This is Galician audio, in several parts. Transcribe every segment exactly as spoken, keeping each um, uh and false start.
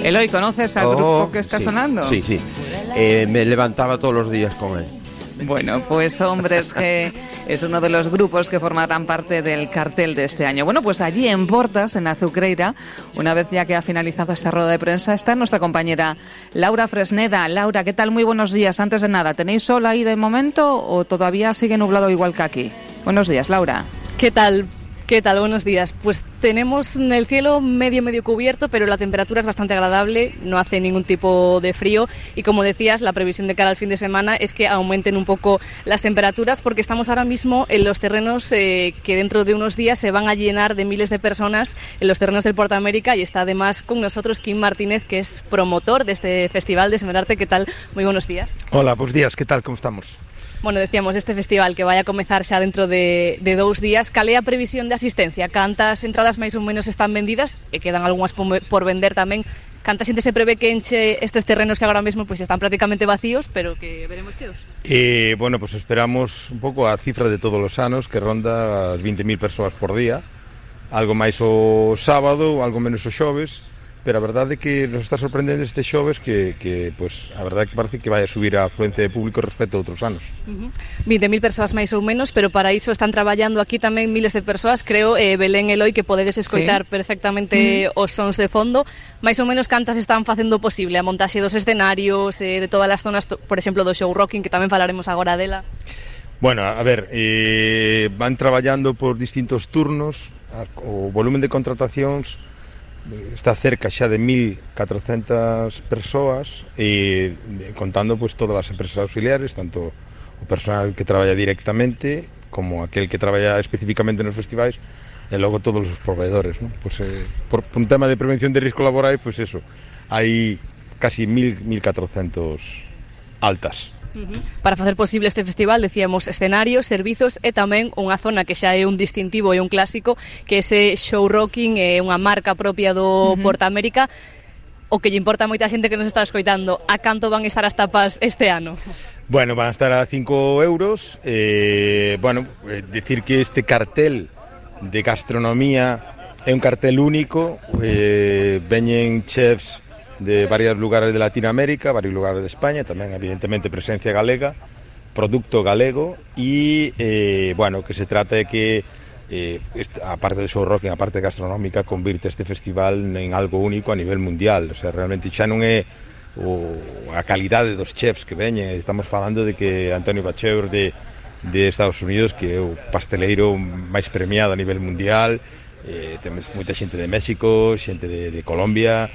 Eloy, ¿conoces al Oh, grupo que está sí, sonando? Sí, sí. Eh, me levantaba todos los días con él. Bueno, pues Hombres G es uno de los grupos que formarán parte del cartel de este año. Bueno, pues allí en Portas, en Azucreira, una vez ya que ha finalizado esta rueda de prensa, está nuestra compañera Laura Fresneda. Laura, ¿qué tal? Muy buenos días. Antes de nada, ¿tenéis sol ahí de momento o todavía sigue nublado igual que aquí? Buenos días, Laura. ¿Qué tal? ¿Qué tal? Buenos días. Pues tenemos el cielo medio medio cubierto, pero la temperatura es bastante agradable, no hace ningún tipo de frío y como decías, la previsión de cara al fin de semana es que aumenten un poco las temperaturas porque estamos ahora mismo en los terrenos eh, que dentro de unos días se van a llenar de miles de personas en los terrenos del Porta América y está además con nosotros Kim Martínez, que es promotor de este festival de Semerarte. ¿Qué tal? Muy buenos días. Hola, buenos días. ¿Qué tal? ¿Cómo estamos? Bueno, decíamos, este festival que vai a comezar xa dentro de, de dous días, cal é a previsión de asistencia? Cantas entradas máis ou menos están vendidas e quedan algunhas por vender tamén? Canta xente se prevé que enche estes terrenos que agora mesmo pues, están prácticamente vacíos, pero que veremos cheos? Eh, bueno, pues esperamos un pouco a cifra de todos os anos, que ronda as veinte mil persoas por día, algo máis o sábado, algo menos o xoves, pero a verdade é que nos está sorprendendo este xoves que, que pues, a verdade é que parece que vai a subir a afluencia de público respecto a outros anos. Uh-huh. veinte mil persoas máis ou menos, pero para iso están traballando aquí tamén miles de persoas, creo, eh, Belén, Eloy, que podedes escoitar sí. perfectamente uh-huh. os sons de fondo. Mais ou menos cantas están facendo posible a montaxe dos escenarios, eh, de todas as zonas, por exemplo, do show rocking, que tamén falaremos agora dela. Bueno, a ver, eh, van traballando por distintos turnos, o volumen de contratacións está cerca xa de mil catrocentas persoas e contando pues todas as empresas auxiliares, tanto o personal que traballa directamente como aquel que traballa especificamente nos festivais e logo todos os proveedores, ¿no? Pues, eh, por, por un tema de prevención de risco laboral, pues eso, hai casi mil, mil catrocentos altas. Uh-huh. Para facer posible este festival, decíamos, escenarios, servizos e tamén unha zona que xa é un distintivo e un clásico, que ese show rocking é unha marca propia do uh-huh. Porta América. O que lle importa a moita xente que nos está escoitando, a canto van estar as tapas este ano? Bueno, van a estar a cinco euros. Eh, bueno, eh, decir que este cartel de gastronomía é un cartel único, eh, veñen chefs de varios lugares de Latinoamérica, varios lugares de España, tamén evidentemente presencia galega, producto galego e, eh, bueno, que se trata de que eh, a parte de show rocking, a parte gastronómica, convirte este festival en algo único a nivel mundial. O sea, realmente xa non é o, a calidade dos chefs que veñen, estamos falando de que Antonio Bacheur de, de Estados Unidos, que é o pasteleiro máis premiado a nivel mundial, eh, temos moita xente de México, xente de, de Colombia,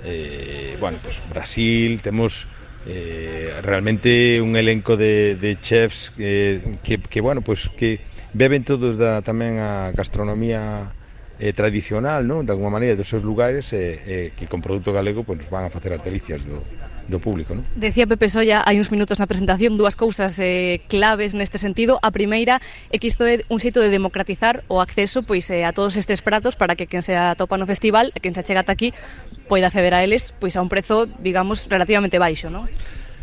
Eh, bueno, pues Brasil, temos eh, realmente un elenco de, de chefs eh, que, que, bueno, pues que beben todos da, tamén a gastronomía eh, tradicional, ¿no? De alguma maneira, dos seus lugares eh, eh, que con produto galego pues, nos van a facer as delicias do, do público, ¿no? Decía Pepe Solla hai uns minutos na presentación dúas cousas eh, claves neste sentido. A primeira é que isto é un xeito de democratizar o acceso pois eh, a todos estes pratos para que quen se atopa no festival e quen se chega ata aquí poida acceder a eles pois a un prezo, digamos, relativamente baixo, ¿no?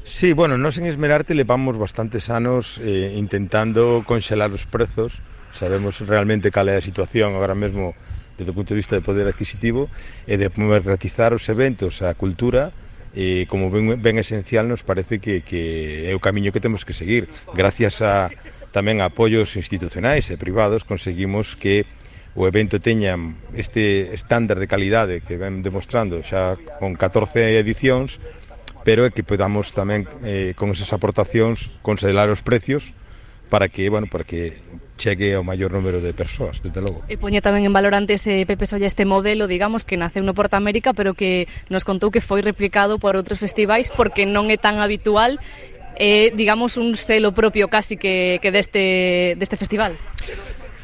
Sí, bueno, nós en Esmerarte levamos bastantes anos eh, intentando conxelar os prezos. Sabemos realmente cal é a situación agora mesmo desde o punto de vista de poder adquisitivo e de democratizar os eventos, a cultura. Eh, como ben, ben esencial nos parece que, que é o camiño que temos que seguir. Gracias a tamén a apoios institucionais e privados conseguimos que o evento teña este estándar de calidade que ven demostrando xa con catorce edicións, pero é que podamos tamén eh, con esas aportacións considerar os precios para que, bueno, para que chegue ao maior número de persoas, desde logo. E poñe tamén en valor antes eh, Pepe Solla este modelo, digamos, que naceu no Porta América, pero que nos contou que foi replicado por outros festivais porque non é tan habitual, eh, digamos, un selo propio casi que, que deste, deste festival.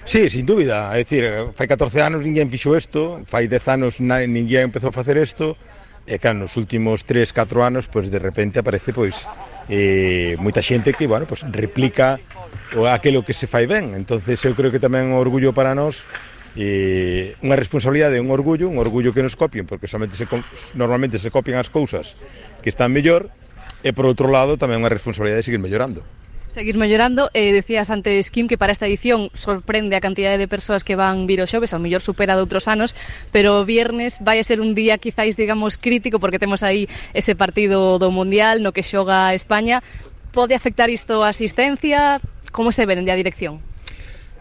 Sí, sin dúbida, é dicir, fai catorce anos ninguén fixo isto, fai dez anos ninguén empezou a facer isto, e claro, nos últimos tres, catro anos, pois de repente aparece pois eh, moita xente que, bueno, pois replica o aquilo que se fai ben. Entonces eu creo que tamén é un orgullo para nós, eh, unha responsabilidade, un orgullo, un orgullo que nos copien, porque somente se, normalmente se copian as cousas que están mellor, e por outro lado tamén unha responsabilidade de seguir mellorando. Seguir mellorando. Eh, decías antes, Kim, que para esta edición sorprende a cantidade de persoas que van vir o xoves, ao mellor supera de outros anos, pero o viernes vai a ser un día quizáis, digamos, crítico, porque temos aí ese partido do Mundial no que xoga España. Pode afectar isto a asistencia? Como se ve dende a dirección?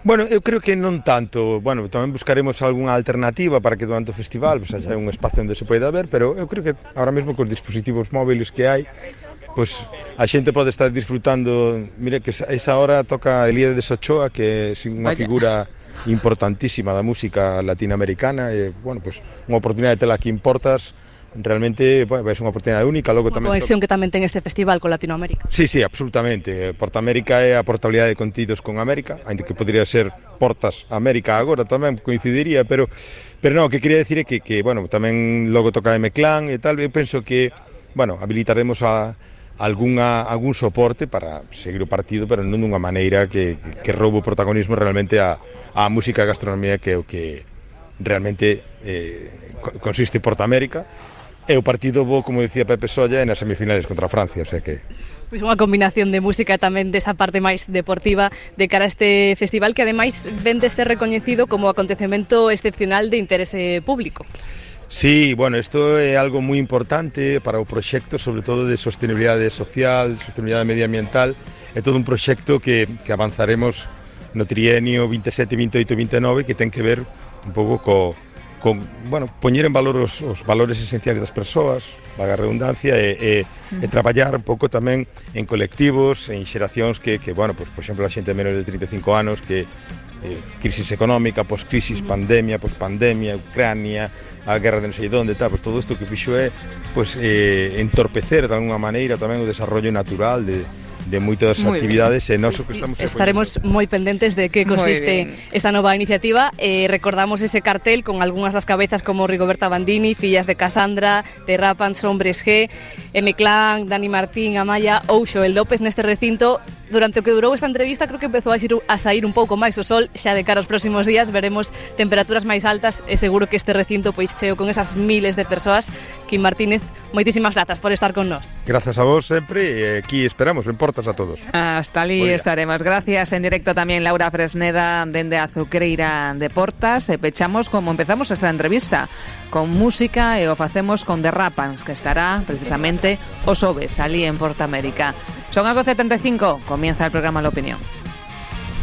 Bueno, eu creo que non tanto. Bueno, tamén buscaremos algunha alternativa para que durante o festival pues, haya un espacio onde se poida ver, pero eu creo que ahora mesmo cos dispositivos móviles que hai, pois a xente pode estar disfrutando. Mire que esa hora toca Elías Ochoa, que é unha figura importantísima da música latinoamericana, e, bueno, pois unha oportunidade de tela aquí en Portas, realmente, bueno, é unha oportunidade única. Logo tamén conexión que tamén ten este festival con Latinoamérica. Sí, sí, absolutamente. Porta América é a portabilidade de contidos con América, ainda que podría ser Portas América agora tamén coincidiría, pero pero non, o que quería decir é que, que bueno, tamén logo toca M-Clan e tal. Eu penso que, bueno, habilitaremos a algunha, algún soporte para seguir o partido, pero non dunha maneira que, que, que roubo o protagonismo realmente a, a música e a gastronomía, que é o que realmente eh, consiste Porta América. E o partido bo, como decía Pepe Solla, nas semifinales contra Francia, o sea que... Pois unha combinación de música e tamén desa parte máis deportiva de cara a este festival, que ademais ven de ser recoñecido como acontecemento excepcional de interese público. Sí, bueno, isto é algo moi importante para o proxecto, sobre todo de sostenibilidade social, de sostenibilidade medioambiental. É todo un proxecto que, que avanzaremos no trienio vinte e sete, vinte e oito, vinte e nove, que ten que ver un pouco co, con, bueno, poñer en valor os, os valores esenciales das persoas, vaga redundancia, e, e, e traballar un pouco tamén en colectivos, en xeracións que, que bueno, pues, por exemplo, a xente menos de trinta e cinco anos, que eh, crisis económica, poscrisis, pandemia, pospandemia, Ucrania, a guerra de non sei onde, tal, pues todo isto que fixo é pues, eh, entorpecer de alguna maneira tamén o desarrollo natural de de moitas actividades e nós pues que estamos sí, estaremos moi pendentes de que consiste esta nova iniciativa. Eh, recordamos ese cartel con algunhas das cabezas como Rigoberta Bandini, Fillas de Casandra, Terrapans, Hombres G, M-Clan, Dani Martín, Amaya ou Xoel López neste recinto. Durante o que durou esta entrevista creo que empezou a, xir, a sair un pouco máis o sol. Xa de cara aos próximos días veremos temperaturas máis altas e seguro que este recinto pois cheo con esas miles de persoas. Kim Martínez, moitísimas grazas por estar con nós. Grazas a vos sempre e aquí esperamos en Portas a todos. Hasta ali estaremos. Gracias. En directo tamén Laura Fresneda dende a Azucreira de Portas. E pechamos como empezamos esta entrevista, con música, e o facemos con Derrapans, que estará precisamente o xoves ali en Porta América. Son as doce e treinta e cinco, comienza el programa La Opinión.